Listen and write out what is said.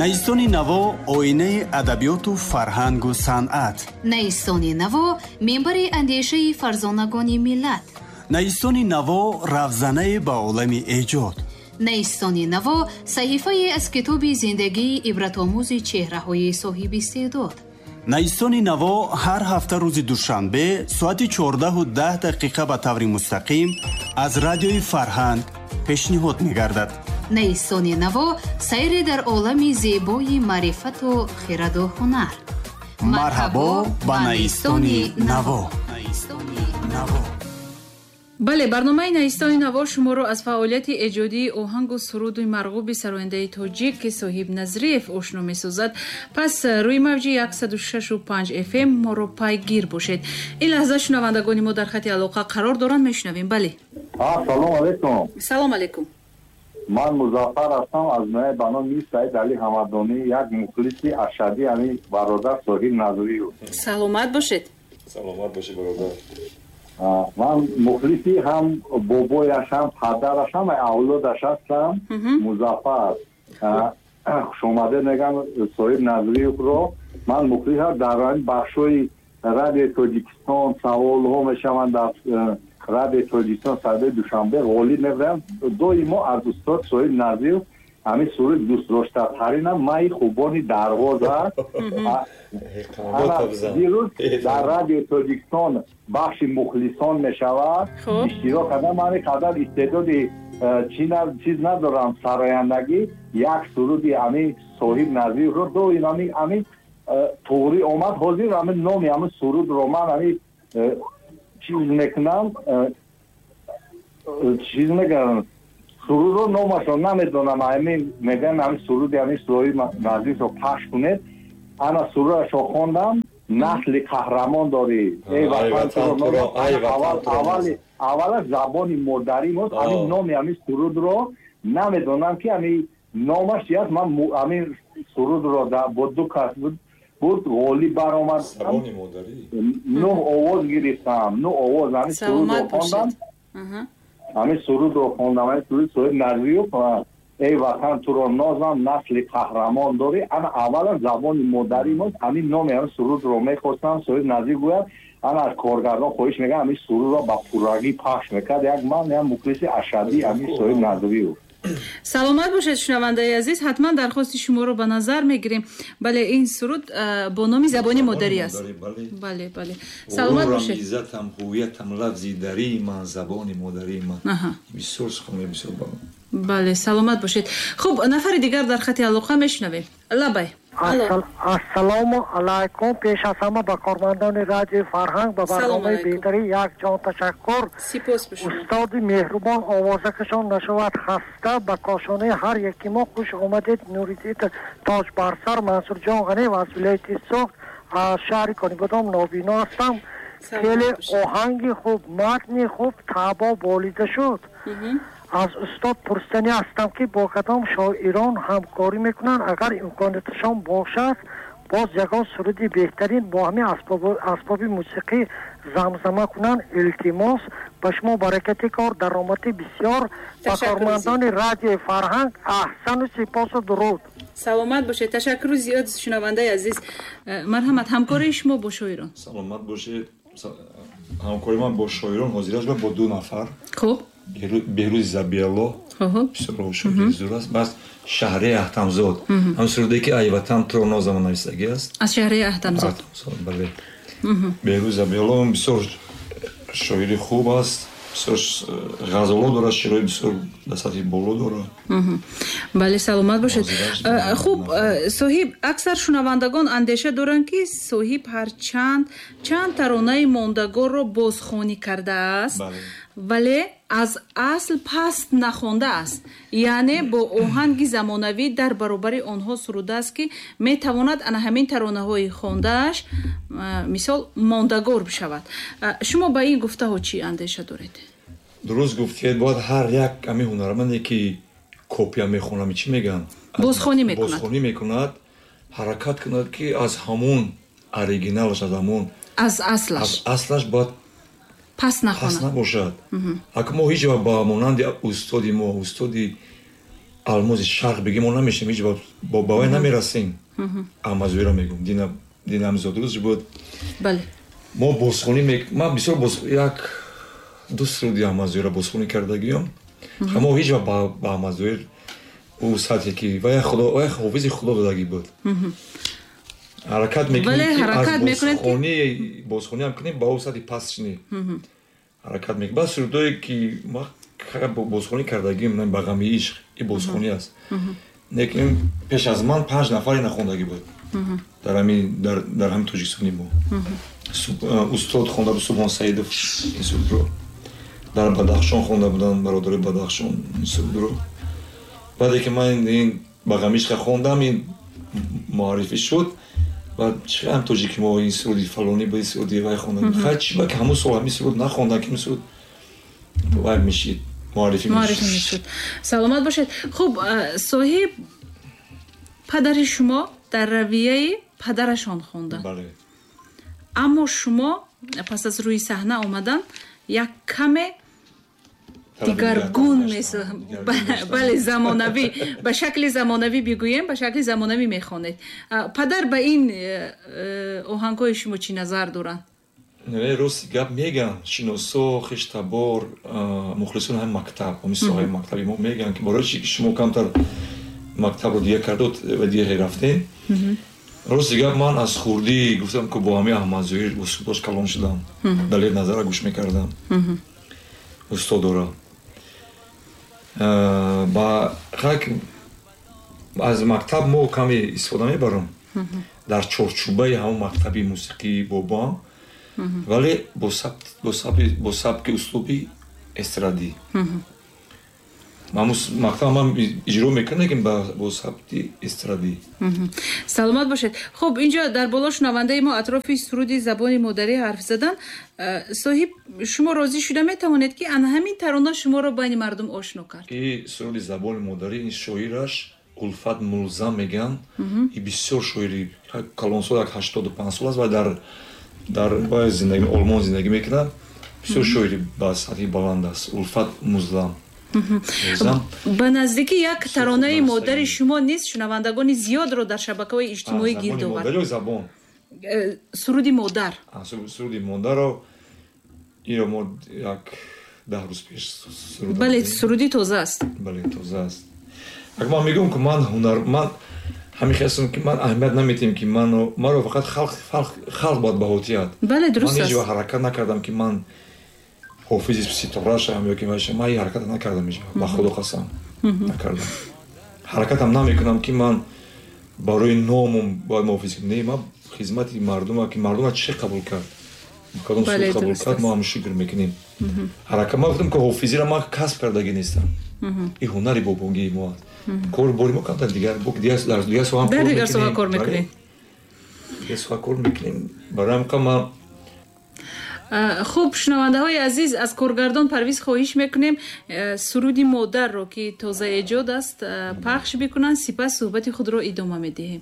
Найистони наво, оинаи адабиёту фарҳангу санъат. Найистони наво, минбари андешаи фарзонагони миллат. Найистони наво, равзанае ба олами эҷод. Найистони наво, саҳифае аз китоби зиндагии ибратомӯзи чеҳраҳои соҳиби истеъдод. Найистони наво ҳар ҳафта рӯзи душанбе соати 14:10 ба таври мустақим аз Радиои Фарҳанг пешниҳод мегардад. Найистони наво, сайре дар олами зебои маърифату хираду ҳунар. Марҳабо ба Найистони наво. Бале, барномаи Найистони наво шуморо аз фаъолияти эҷодии оҳангу суруди марғуби сарояндаи тоҷик, ки Соҳиб Назриев, ошно месозад. Пас рӯи мавҷи 106,5 фм моро пайгир бошед. Ин лаҳза шунавандагони мо дар хати алоқа қарор доранд, мешунавем. Бале. Салом алейкум. Салом алейкум. Ман Музаффар ҳастам аз ноҳияи ба номи Саид Али Ҳамадонӣ, як мухлиси ашадии ҳамин бародар Соҳиб Назриев. Саломат бошед. Саломат бошед, бародар. Ман мухлиси ҳам бобояш, ҳам падараш, ҳам авлодаш ҳастам. Музаффар, хушомадед мегам Соҳиб Назриевро. Ман мухлис ҳам дар ҳамин бахшҳои Радиои Тоҷикистон саволҳо мешаванд, дар Радиои Тоҷикистон садаи Душанбе ғолиб мебарам. Доимо аз устод Соҳиб Назриев ҳамин суруди дӯстдоштатаринам «Майи хубони Дарвоз» аст. Дирӯз дар Радиои Тоҷикистон бахши мухлисон мешавад, иштирок кардам. Ман қадар истеъдоди чиз надорам, сарояндагӣ. Як суруди ҳамин Соҳиб Назриевро доим ҳамин туғрӣ омад. Ҳозир ҳамин номи ҳамин сурудро ман ҳамин чиз мекунам, чиз мекунам, сурудро номашро намедонам. Ҳамин мегӯям, ҳамин суруди ҳамин Соҳиб Назриевро пахш кунед. Ана сурудашро хондам: «Насли қаҳрамон дорӣ, эй ватан туро». Аввала забони модари мост. Ҳамин номи ҳамин сурудро намедонам, ки ҳамин номаш чи аст. Ман ҳамин сурудро бо ду кас буд, ғолиб баромадам, нӯҳ овоз гирифтам, нӯҳ овоз. Ҳамин сурудро хондам, ҳамин сурудро хондам, ҳамин суруди Соҳиб Назриев: «Эй ватан, туро нозам, насли қаҳрамон дорӣ». Ана аввала забони модари мост. Ҳамин номи ҳамин сурудро мехостам Соҳиб Назриев гӯяд. Ана аз коргардон хоҳиш мекардам, ҳамин сурудро ба пуррагӣ пахш мекард. Як ман як мухлиси ашадии ҳамин Соҳиб Назриев. Саломат бошед, шунавандаи азиз, ҳатман дархости шуморо ба назар мегирем. Бале, ин суруд бо номи «Забони модарӣ» аст. Бале, саломат бошед. Иззатам, ҳувиятам, лафзи дарии ман, забони модарии ман. Бисёр сухане, бисёр. Бале, саломат бошед. Хуб, нафари дигар дар хати алоқа, мешунавем. Лабай. Ассалому алайкум. Пеш аз ҳама ба кормандони Радиои Фарҳанг, ба барномаи беҳтарӣ як ҷон ташаккур. Сипос ба шумо. Устоди меҳрубон, овозакашон нашавад хаста, ба кошонаи ҳар яки мо хуш омадед. Нуриддин тоҷ бар сар. Мансурҷон Ғаниев аз вилояти Суғд, аз шаҳри Конибодом, нобино ҳастам. Хеле оҳанги хуб, матни хуб, таъбо болида шуд. Аз устод пурсиданӣ ҳастам, ки бо кадом шоирон ҳамкорӣ мекунанд. Агар имконияташон бошад, боз ягон суруди беҳтарин бо ҳамин асбоби мусиқӣ замзама кунанд. Илтимос. Ба шумо баракати кор, даромади бисёр, ба кормандони Радиои Фарҳанг аҳсану сипосу дуруд. Саломат бошед, ташаккуру зиёд, шунавандаи азиз. Марҳамат, ҳамкории шумо бо шоирон. Саломат бошед. Ҳамкории ман бо шоирон ҳозираш бо ду нафар. Беҳрӯзи Забиалло, бисёр шоири зур аст, бас Шаҳрияи Аҳтамзод, ҳам суруде ки «Ай ватан, туро нозам» нависагӣ аст. Аз Шаҳрияи Аҳтамзод. Бале, Беҳрӯз Забиалло бисёр шоири хуб аст, бисёр ғазало дорад, шеърҳои бисёр дар сатҳи боло дорад. Бале, саломат бошед. Хуб, Соҳиб, аксар шунавандагон андеша доранд, ки Соҳиб ҳарчанд чанд таронаи мондагорро бозхонӣ кардааст, вале аз асл паст нахондааст, яъне бо оҳанги замонавӣ дар баробари онҳо сурудааст, ки метавонад ана ҳамин таронаҳои хондааш, мисол, мондагор бишавад. Шумо ба ин гуфтаҳо чӣ андеша доред? Дуруст гуфтед. Бояд ҳар як ҳамин ҳунарманде, ки копия мехонам, чӣ мегӯянд, бозхонӣ мекунад, бозхонӣ мекунад, ҳаракат кунад, ки аз ҳамун оригиналаш, аз ҳамун аз аслаш, аз аслаш бояд пас нахонад, пас набошад. Ака, мо ҳеҷ вақт ба монанди устоди мо, устоди Алмози шарқ бигем, мо намешем, ҳеҷ ба вай намерасем. Аҳмадзоҳирро мегӯм, динам зодрӯзш буд. Мо бозхонӣ, ман бисёр як ду суруди Аҳмадзоҳирро бозхонӣ кардагиём. Мо ҳеҷ вақт ба Аҳмадзоҳир ӯ сатҳе ки вай ҳофизи худо додагӣ буд, ҳаракат мекунем ки аз бозхониам кунем, ба ӯ сатҳи паст шинем, ҳаракат мекунем. Баъд сурудое ки ма бозхонӣ кардагим, ба ғами ишқ, и бозхонӣ аст, лекин пеш аз ман 5 нафаре нахондагӣ буд дар ҳамин Тоҷикистони мо. Устод хонда буд, Субҳон Саидов, ин сурудро дар Бадахшон хонда буданд, бародари Бадахшон ин сурудро. Баъде ки ман ин ба ғами ишқа хондам, ин муаррифӣ шуд. Баъд чӣ ҳам тоҷики мо ин суруди фалонӣ ба ин суруди вай хонда, хай чӣ ба ки ҳамун сол ҳамин суруд нахондан, ки ин суруд вай мешид, муаррифӣ мешуд. Саломат бошед. Хуб, соҳиб, падари шумо дар равияи падарашон хонданд, аммо шумо пас аз рӯи саҳна омадан як каме дигаргун, бале, замонавӣ, ба шакли замонавӣ бигӯем, ба шакли замонавӣ мехонед. Падар ба ин оҳангҳои шумо чӣ назар доранд? Рости гап мегӯянд шиносо, хештабор, мухлисони ҳамин мактаб, ҳамин соҳаи мактаби мо мегӯянд, ки барои чи ки шумо камтар мактабро дигар кардод ва дигар рафтем. Рости гап, ман аз хурдӣ гуфтам, ки бо ҳамин Аҳмадзоҳир устодош калон шудам, Далер Назарро гӯш мекардам, устодора. Ба аз мактаб мо каме истифода мебарам дар чорчӯбаи ҳамон мактаби мусиқии бобоам, вале бо сабки услуби эстрадӣ. Мактаб ман иҷро мекунам, лекин бо сабти эстрадӣ. Саломат бошед. Хуб, инҷо дар боло шунавандаи мо атрофи суруди забони модарӣ ҳарф задан. Соҳиб, шумо розӣ шуда метавонед, ки ана ҳамин тарона шуморо байни мардум ошно кард? И суруди забони модарӣ, ин шоираш Улфат Мулзам мегӯянд, и бисёр шоири калонсол, як 85 сол аст ва дар зиндагӣ Олмон зиндагӣ мекунад. Бисёр шоири ба сатҳи баланд аст, Улфат Музлам. Ба наздикӣ як таронаи модари шумо низ шунавандагони зиёдро дар шабакаҳои иҷтимоӣ гирд овард. Забон суруди модар. Суруди модарро иро мо як 10 рӯз пеш суруд. Бале, суруди тоза аст. Бале, тоза аст. Агар ман мегӯям, ки ман ҳунар, ман ҳамин хестам, ки ман аҳамият наметиҳам, ки маро фақат халқ бояд баҳо диҳад. Бале, дуруст аст. Ман ҳеҷ вақт ҳаракат накардам, ки ман ҳофизи ситора шавам ё ки ман ин ҳаракатро накардам ҳеҷ вақт, ба худо қасам накардам. Ҳаракатам намекунам, ки ман барои номум бояд муҳофиз кунам. Не, ман хизмати мардума, ки мардума чӣ қабул кард, кадом суруд қабул кард, мо ҳам шукр мекунем. Ҳаракат ман гуфтам, ки ҳофизиро ман касб кардагӣ нестам, ин ҳунари бобогии мо аст. Кор бори мо камтар дигар, дар дигар соҳа дар дигар соҳа кор мекунем, дигар соҳа кор мекунем. Барои ҳамин ман. Хуб, шунавандаҳои азиз, аз коргардон Парвиз хоҳиш мекунем суруди модарро, ки тозаэҷод аст, пахш бикунанд, сипас суҳбати худро идома медиҳем.